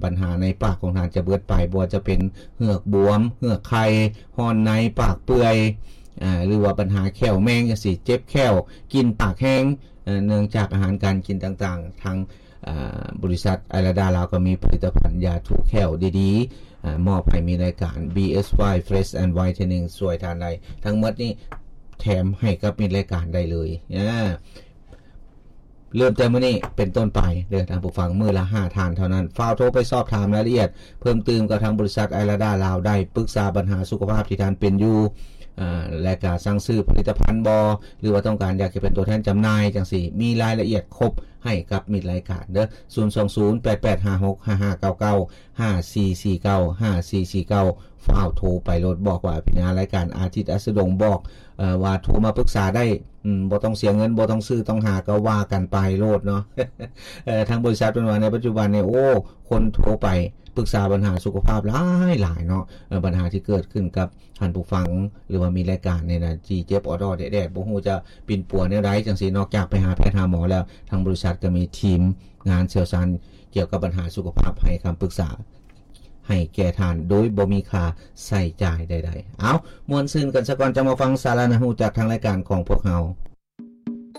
ບັນຫາໃນປາກຂອງທ່ານຈະເບີດໄປ, ບໍ່ວ່າຈະເປັນເຫືອກບວມ, ເຫືອກໄຂ່, ຮ້ອນໃນ, ປາກເປື່ອຍ, ອາ ຫຼືວ່າບັນຫາແຂ້ວແມງຈັ່ງຊີ້, ເຈັບແຂ້ວ, ກິ່ນປາກແຮງ, ເນື່ອງຈາກອາຫານການກິນຕ່າງໆ. ທາງ ອາ ບໍລິສັດໄອລາດາລາວກໍມີຜະລິດຕະພັນຢາຖູແຂ້ວດີໆ ອາ ມອບໃຫ້ມີລາຍການ ບີເອສວາຍ Fresh and Whitening ຊ່ວຍທ່ານໄດ້. ທັງໝົດນີ້ແຖມໃຫ້ກັບມິດລາຍການໄດ້ເລີຍ. ອາ ເລີ່ມແຕ່ມື້ນີ້ເປັນຕົ້ນໄປເດີທ່ານຜູ້ຟັງ, ມື້ລະຫ້າທ່ານເທົ່ານັ້ນ. ຟ້າວໂທໄປສອບຖາມລາຍລະອຽດເພີ່ມຕື່ມກັບທາງບໍລິສັດໄອລາດາລາວໄດ້, ປຶກສາບັນຫາສຸຂະພາບທີ່ທ່ານເປັນຢູ່ ອາ ແລະກະສັ່ງຊື້ຜະລິດຕະພັນບໍ ຫຼືວ່າຕ້ອງການຢາກຈະເປັນຕົວແທນຈຳໜ່າຍຈັ່ງຊີ້, ມີລາຍລະອຽດຄົບໃຫ້ກັບມິດລາຍການເດີ. ສູນສອງສູນ ແປດແປດຫ້າຫົກ ຫ້າຫ້າເກົ້າເກົ້າ ຫ້າສີ່ສີ່ເກົ້າ ຫ້າສີ່ສີ່ເກົ້າ ຟ້າວໂທໄປໂລດ, ບອກວ່າພິນາລາຍການອາທິດ ອັສດງ ບອກ ເອີ ວ່າໂທມາປຶກສາໄດ້, ອືມ ບໍ່ຕ້ອງເສຍເງິນ, ບໍ່ຕ້ອງຊື້ຕ້ອງຫາ, ກໍວ່າກັນໄປໂລດເນາະ. ເອີ ທາງບໍລິສັດເພິ່ນວ່າໃນປັດຈຸບັນນີ້ ໂອ້ ຄົນໂທໄປປຶກສາບັນຫາສຸຂະພາບຫຼາຍໆເນາະ. ເອີ ບັນຫາທີ່ເກີດຂຶ້ນກັບທ່ານຜູ້ຟັງ ຫຼືວ່າມີລາຍການນີ້ນະ ທີ່ເຈັບອອດໆແດດໆ ບໍ່ຮູ້ຈະປິ່ນປົວແນວໃດຈັ່ງຊີ້, ນອກຈາກໄປຫາແພດຫາໝໍແລ້ວ, ທາງບໍລິສັດກໍມີທີມງານຊ່ຽວຊານກ່ຽວກັບບັນຫາສຸຂະພາບໃຫ້ຄຳປຶກສາ ໃຫ້ແກ່ທ່ານໂດຍບໍ່ມີຄ່າໃຊ້ຈ່າຍໃດໆ. ເອົາ, ມ່ວນຊື່ນກັນສາກ່ອນ, ຈັ່ງມາຟັງສາລະໜ້າຮູ້ຈາກທາງລາຍການຂອງພວກເຮົາ.